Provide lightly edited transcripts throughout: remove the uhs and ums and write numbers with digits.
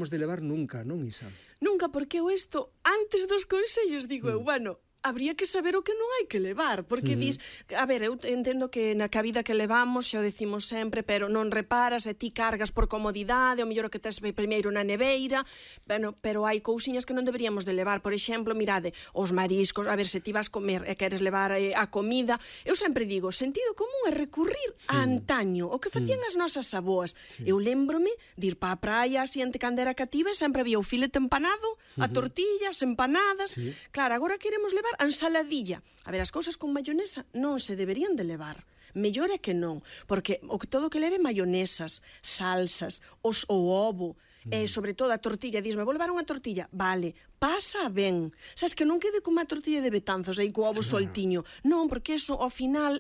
de levar nunca, non, Isa? Nunca, porque eu isto, antes dos consellos, digo eu, bueno, habría que saber o que non hai que levar, porque dis, a ver, eu entendo que na vida que levamos, xa o decimos sempre, pero non reparas e ti cargas por comodidade, o mellor que tes primeiro na neveira, bueno, pero hai cousiñas que non deberíamos de levar, por exemplo, mirade, os mariscos, a ver, se ti vas comer e queres levar a comida, eu sempre digo, sentido común é recurrir a antaño, o que facían as nosas aboas. Eu lembrome de ir pa a praia, así ante cando era cativa, sempre había o filete empanado, a tortillas, empanadas, claro, agora queremos levar a ensaladilla. A ver, as cousas con mayonesa non se deberían de levar. Mellor é que non, porque todo que leve mayonesas, salsas, o ovo, sobre todo a tortilla, disme, vou levar unha tortilla, vale, pasa ben. Sabes que non quede como a tortilla de Betanzos aí co ovo soltiño. Non, porque eso ao final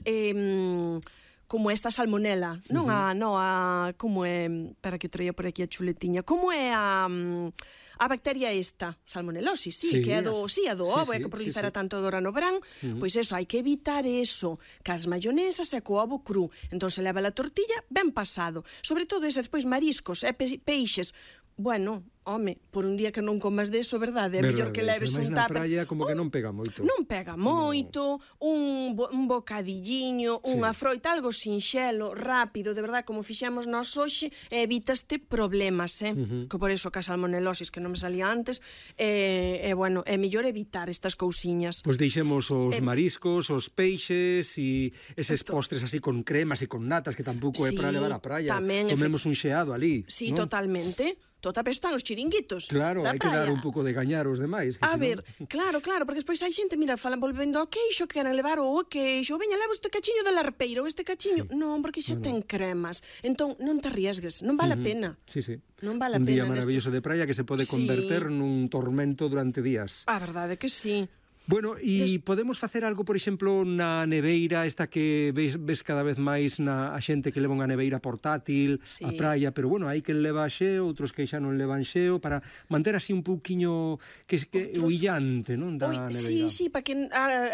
como esta salmonela, non como é, para que traía por aquí a chuletiña, como é a bacteria esta, salmonelosis, que é do ovo, é que prolifera tanto agora no verán, pois eso, hai que evitar eso, cas mayonesas e co ovo cru. Entón se leva a tortilla ben pasado, sobre todo ese despois mariscos e peixes. Bueno, home, por un día que non comas deso, verdade? É mellor que leves un tupper. Na praia como que non pega moito. Non pega moito, un bocadilliño, unha froita, algo sinxelo, rápido, de verdade, como fixemos nós hoxe, evitaste problemas, que por eso que a salmonelosis, que non me salía antes, bueno, é mellor evitar estas cousiñas. Pois deixemos os mariscos, os peixes e eses postres así con cremas e con natas, que tampouco é para levar á praia. Tomemos un xeado ali. Sí, totalmente. Total, están os chiringuitos. Claro, hai que dar un pouco de gañar aos demais. A ver, claro, porque despois hai xente, mira, falan volvendo ao queixo, que queren levar o queixo, veña, levo este cachiño de larpeira ou este cachiño. Non, porque xa ten cremas. Entón, non te arriesgues, non vale a pena. Sí, sí. Non vale a pena. Un día maravilloso de praia que se pode converter nun tormento durante días. A verdade que sí. Bueno, e podemos facer algo, por exemplo, na neveira, esta que ves cada vez máis a xente que leva unha neveira portátil á praia, pero bueno, hai que leva xeo, outros que xa non levan xeo, para manter así un pouquiño que o illante, non, da neveira. Sí, para que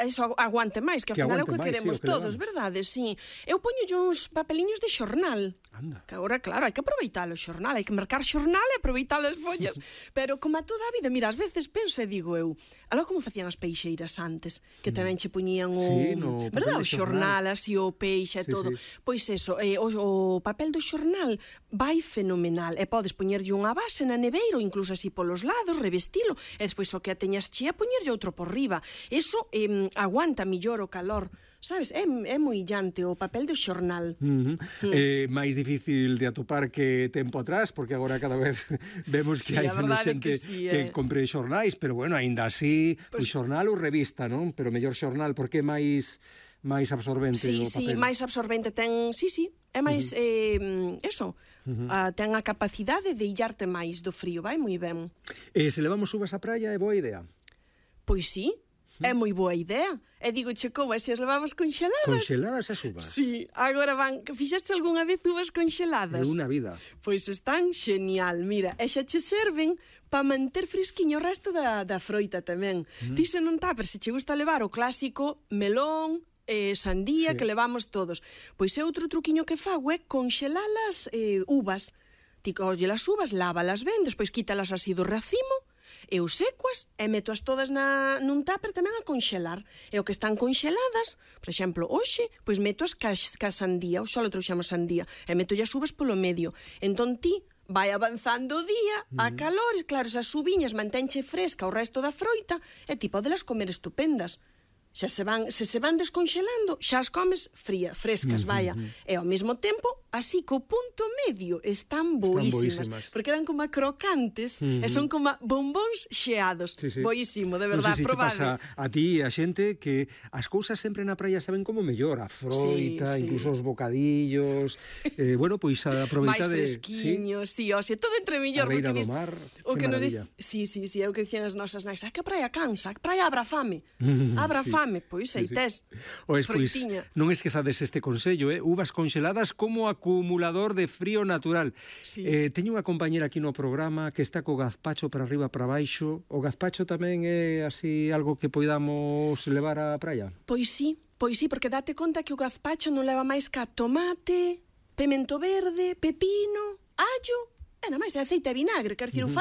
eso aguante máis, que ao final é o que queremos todos, verdade? Sí. Eu poño uns papeliños de xornal. Anda. Que agora, claro, hai que aproveitar o xornal, hai que marcar xornal e aproveitar as follas. Pero como a toda a vida, mira, ás veces penso e digo eu, algo como facían as peixeiras antes, que tamén che poñían o xornal, así o peixe e todo. Pois eso, o papel do xornal vai fenomenal, e podes poñerlle unha base na neveira, ou incluso así polos lados, revestilo, e despois o que a teñas chea, poñerlle outro por riba. Eso aguanta millor o calor. Sabes, é moi illante o papel do xornal. É máis difícil de atopar que tempo atrás, porque agora cada vez vemos que hai menos xente que compre xornais, pero bueno, aínda así, o xornal ou revista, non? Pero mellor xornal, porque é máis absorbente o papel. Sí, máis absorbente ten, é máis, ten a capacidade de illarte máis do frío, vai moi ben. Se levamos uvas á praia é boa idea? Pois sí. É moi boa idea. E digo, como, se as levamos congeladas? Congeladas as uvas? Sí, agora fixaste algunha vez uvas congeladas? De unha vida. Pois están genial, mira, e xa che serven para manter fresquiño o resto da froita tamén. Ti se non tupper, se che gusta levar o clásico melón, sandía, que levamos todos. Pois é outro truquiño que fago é congelalas uvas. Ti colle as uvas, lávalas ben, despois quítalas así do racimo, e os secuas e metoas todas nun tupper tamén a conxelar. E o que están conxeladas, por exemplo, hoxe, pois metoas ca sandía, ou xa lo trouxemos sandía, e metolle as uvas polo medio. Entón ti vai avanzando o día, a calor, claro, esas uviñas mantenche fresca o resto da froita, e ti podelas comer estupendas. Se se van desconxelando, xa as comes frescas, vaya. E ao mesmo tempo, así co punto medio, están boísimas. Porque eran como crocantes e son como bombóns xeados. Boísimo, de verdade, probade. Non sei se pasa a ti e a xente que as cousas sempre na praia saben como mellor, a froita, incluso os bocadillos. Bueno, pois a aproveitar de... máis fresquiños, todo entre mellor. A beira do mar, que maravilla. Sí, é o que dicían as nosas nais. Que a praia cansa, a praia abra fame. Abra fame. Pois aí tes froitiña. Non esquezades este consello, uvas congeladas como acumulador de frío natural. Teño unha compañera aquí no programa que está co gazpacho para arriba para baixo. O gazpacho tamén é así algo que poidamos levar á praia? Pois sí, porque date conta que o gazpacho non leva máis ca tomate, pemento verde, pepino, allo, e nada máis, aceite e vinagre, quer dicir,